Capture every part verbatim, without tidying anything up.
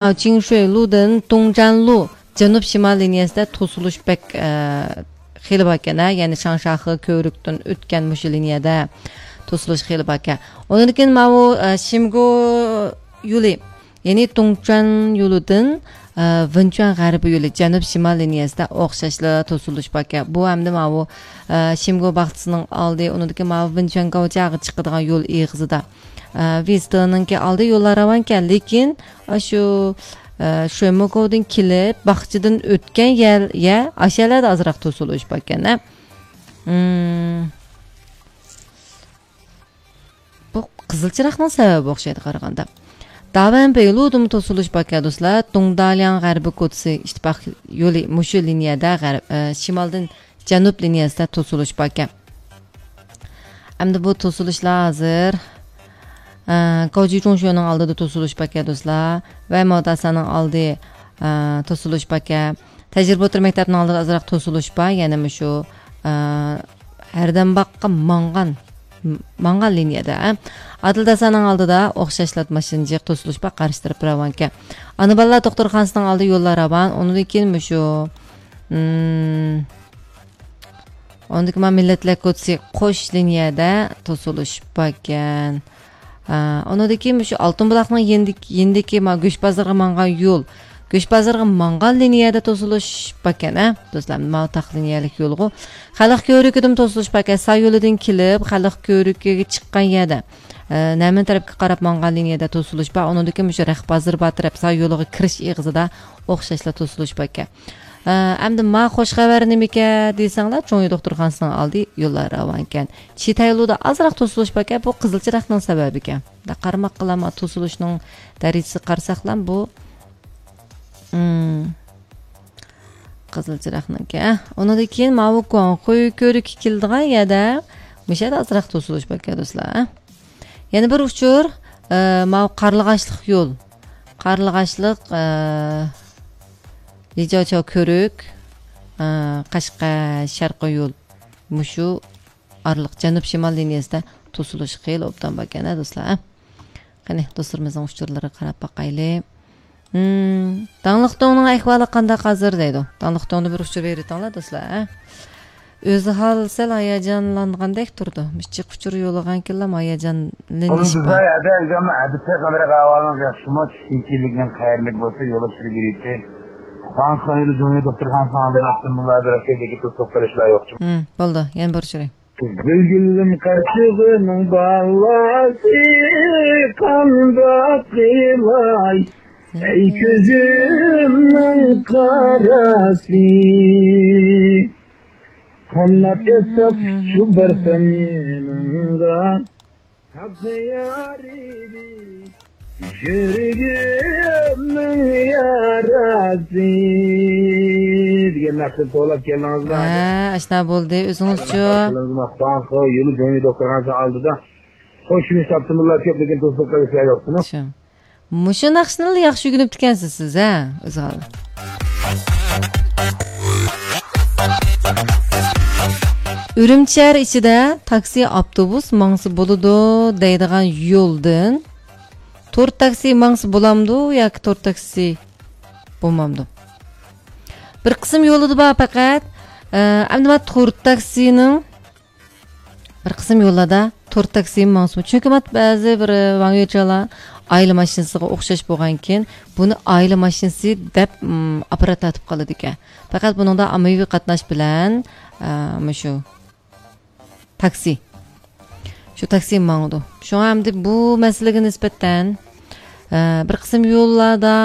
چىڭشۇيلۇدىن دۇڭجانلۇ جەنۇب شىمال لىنىيەسىدە توسۇلۇش بەك، ئە، خېلى باركەن، ھە؟ يەنى شاڭشاخې كۆۋرۈكتىن ئۆتكەن مۇشۇ لىنىيەدە توسۇلۇش خېلى باركەن. ئۇنىڭدىن كېيىن ماۋۇ، ئە، شىمگو يولى، يەنى دۇڭچۈەن يولىدىن، ئە، ۋېنچۈەن غەربىي يولى جەنۇب شىمال لىنىيەسىدە ئوخشاشلا توسۇلۇش باركەن. بۇ ئەمدى ماۋۇ، ئە، شىمگو باغچىسىنىڭ ئالدى، ئۇنىڭدىن كېيىن ماۋۇ ۋېنچۈەن گاۋجياغا چىقىدىغان يول ئېغىزىدا. ئە، ۋىستېنىڭكى ئالدى يوللار راۋانكەن، لېكىن ئاشۇ، ئە، شۆموكودىن كېلىپ، باغچىدىن ئۆتكەن يەر، يە، ئاشۇ يەرلەردە ئازراق توسۇلۇش باركەن، ھە. مم. بۇ قىزىل چىراغنىڭ سەۋەبى ئوخشايدۇ قارىغاندا. داۋەن بېيلۇدىمۇ توسۇلۇش باركەن، دوستلار. دۇڭدالياڭ غەربىي كوچىسى ئىتتىپاق يولى مۇشۇ لىنىيەدە غەرب، ئە، شىمالدىن جەنۇب لىنىيەسىدە توسۇلۇش باركەن. ئەمدى بۇ توسۇلۇشلار ھازىر، ئە، گاۋجى چوڭشۆنىڭ ئالدىدا توسۇلۇش باركەن، دوستلار. ۋە ماۋۇ داساننىڭ ئالدى، ئە، توسۇلۇش باركەن. تەجرىبە ئوتتۇرا مەكتەپنىڭ ئالدىدا ئازراق توسۇلۇش بار، يەنە مۇشۇ، ئە، ھەردەمباغقا ماڭغان، ماڭغان لىنىيەدە، ئە. ئادىل داساننىڭ ئالدىدا ئوخشاشلا ماشىنا جىق توسۇلۇش بار، قارشى تەرەپ راۋانكەن. ئانا بالىلار دوختۇرخانىسىنىڭ ئالدى يوللار راۋان، ئۇنىڭدىن كېيىن مۇشۇ، مم، ئۇنىڭدىكى ما مىللەتلەر كوچىسى قوش لىنىيەدە توسۇلۇش باركەن. ئا، ئۇنىڭدىكى مۇشۇ ئالتۇن بۇلاقنىڭ يېنىدىكى، يېنىدىكى ما گۆش بازىرىغا ماڭغان يول. گۆش بازىرىغا ماڭغان لىنىيەدە توسۇلۇش باركەن، ھە؟ دوستلار، ماۋۇ تاق لىنىيەلىك يولغۇ. خەلق كۆۋرۈكىدىمۇ توسۇلۇش باركەن. سا يولىدىن كېلىپ، خەلق كۆۋرۈكىگە چىققان يەردە، ئە، نەمىن تەرەپكە قاراپ ماڭغان لىنىيەدە توسۇلۇش بار. ئۇنىڭدىن كېيىن مۇشۇ رەخت بازىرى بار تەرەپ سا يولىغا كىرىش ئېغىزىدا ئوخشاشلا توسۇلۇش باركەن. ئە، ئەمدى ما خوش خەۋەر نېمىكەن دېسەڭلار، چوڭيى دوختۇرخانىسىنىڭ ئالدى يوللار راۋانكەن. چىتەيلۇدا ئازراق توسۇلۇش باركەن، بۇ قىزىل چىراغنىڭ سەۋەبىكەن. دا قارىماققىلا ما توسۇلۇشنىڭ دەرىجىسىگە قارىساقلا بۇ، ئىم، قىزىل چىراغنىڭكى. ئۇنىڭدىن كېيىن ماۋۇ گۇاڭخۇي كۆۋرۈككە كېلىدىغان يەردە مۇشۇ يەردە ئازراق توسۇلۇش باركەن، دوستلار. يەنە بىر ئۇچۇر، ئە، ماۋۇ قارلىغاچلىق يول. قارلىغاچلىق، ئە، لىجاۋچاۋ كۆۋرۈك، ئە، قەشقەر شەرقىي يول. مۇشۇ ئارىلىق جەنۇب شىمال لىنىيەسىدە توسۇلۇش خېلى ئوبدان باركەن، ھە، دوستلار، ھە؟ قېنى، دوستلىرىمىزنىڭ ئۇچۇرلىرىغا قاراپ باقايلى. ھىم، داڭلىق دۆڭنىڭ ئەھۋالى قانداق ھازىر دەيدۇ. داڭلىق دۆڭدىن بىر ئۇچۇر بېرىۋېتىڭلار، دوستلار، ھە؟ ئۆزى ھال سەل ھاياجانلانغاندەك تۇرىدۇ. مۇشۇ جىق ئۇچۇر يوللىغانكىنلا ھاياجانلىنىش بار. ئەدە ئەگەم ئەدىسى قەدرى ئەھۋالىڭىز ياخشىمۇ؟ چۈشكۈنچىلىكنىڭ قەيەرلىك بولسا يول ئۇچۇرى بېرىدۇ. خان خان يولى جۇڭيى دوختۇرخانىسىنىڭ ئالدىدا ئاپتوموبىللاردا رەسىدىكى توسۇق قىلىشلار يوقچۇ؟ ھىم، بولدى. يەنە بىر ئۇچۇرى. گۈلگۈلۈم قارچىغىنىڭ بالاسى، قانداق قىلاي؟ ئەي كۆزۈمنىڭ قاراسى، قانداق ئېيتساق شۇ بىر سەن يېنىڭدا. تاپسا يار ئىدى، يۈرىكىمنىڭ ياراسى دېگەن ناخشىنى توۋلاپ كەلدىڭىزمۇ؟ ھە، ئاشۇنداق بولدى. ئۆزىڭىزچۇ؟ يولى جۇڭيى دوختۇرخانىسى ئالدىدا. خوش، شۇنى تاپتىمىلا كۆپ، لېكىن توسۇپ قېلىشلار يوقتىمۇ؟ شۇ. مۇشۇ ناخشىنىلا ياخشى ئۆگىنىپتىكەنسىز سىز، ھە؟ ئۆزى ھال. ئۈرۈمچى شەھەر ئىچىدە تاكسى، ئاپتوبۇس ماڭسا بولىدۇ دەيدىغان يولدىن تور تاكسى ماڭسا بولامدۇ ياكى تور تاكسى بولمامدۇ؟ بىر قىسىم يولىدا بار پەقەت، ئە، ئەمدى مانا تور تاكسىنىڭ بىر قىسىم يوللاردا تور تاكسىمۇ ماڭسىمۇ. چۈنكى مانا بەزى بىر، ئە، ۋاڭيۈچالار ئائىلە ماشىنىسىغا ئوخشاش بولغانكىن، بۇنى ئائىلە ماشىنىسى دەپ، ئىم، ئاپپارات تارتىپ قالىدىكەن. پەقەت بۇنىڭدا ئاممىۋى قاتناش بىلەن، ئە، مۇشۇ تاكسى. شۇ تاكسى ماڭىدۇ. شۇڭا ئەمدى بۇ مەسىلىگە نىسبەتەن، ئە، بىر قىسىم يوللاردا،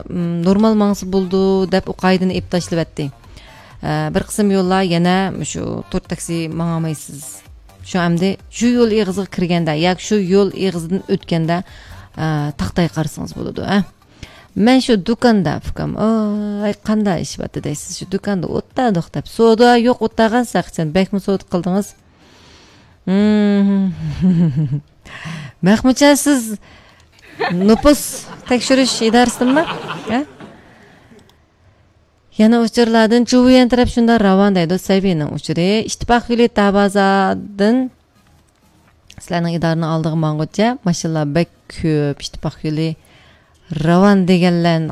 م، نورمال ماڭسا بولىدۇ دەپ ئۇ قائىدىنى ئېلىپ تاشلىۋەتتى. ئە، بىر قىسىم يوللار يەنە مۇشۇ تور تاكسى ماڭالمايسىز. شۇ ئەمدى شۇ يول ئېغىزىغا كىرگەندە ياكى شۇ يول ئېغىزىدىن ئۆتكەندە، ئە، تاختايغا قارىسىڭىز بولىدۇ، ئە. مەن شۇ دۇكاندا، ئۇكام، ئاي، قانداق ئىش بارتى دەيسىز، شۇ دۇكاندا ئولتۇردۇق دەپ. سودا يوق، ئولتۇرغان ساقچىن، بەكمۇ سودا قىلدىڭىز؟ ھىم. مەخمۇتجان، سىز نوپۇس تەكشۈرۈش ئىدارىسىدىنمۇ؟ ھە؟ يەنە ئۇچۇرلاردىن جۇۋيەن تەرەپ شۇنداق راۋان دەيدۇ، سەيۋىنىڭ ئۇچۇرى. ئىتتىپاق يولى تابازادىن سىلەرنىڭ ئىدارىنىڭ ئالدىغا ماڭغۇچە ماشىنىلار بەك كۆپ، ئىتتىپاق يولى راۋان دېگەنلەرنى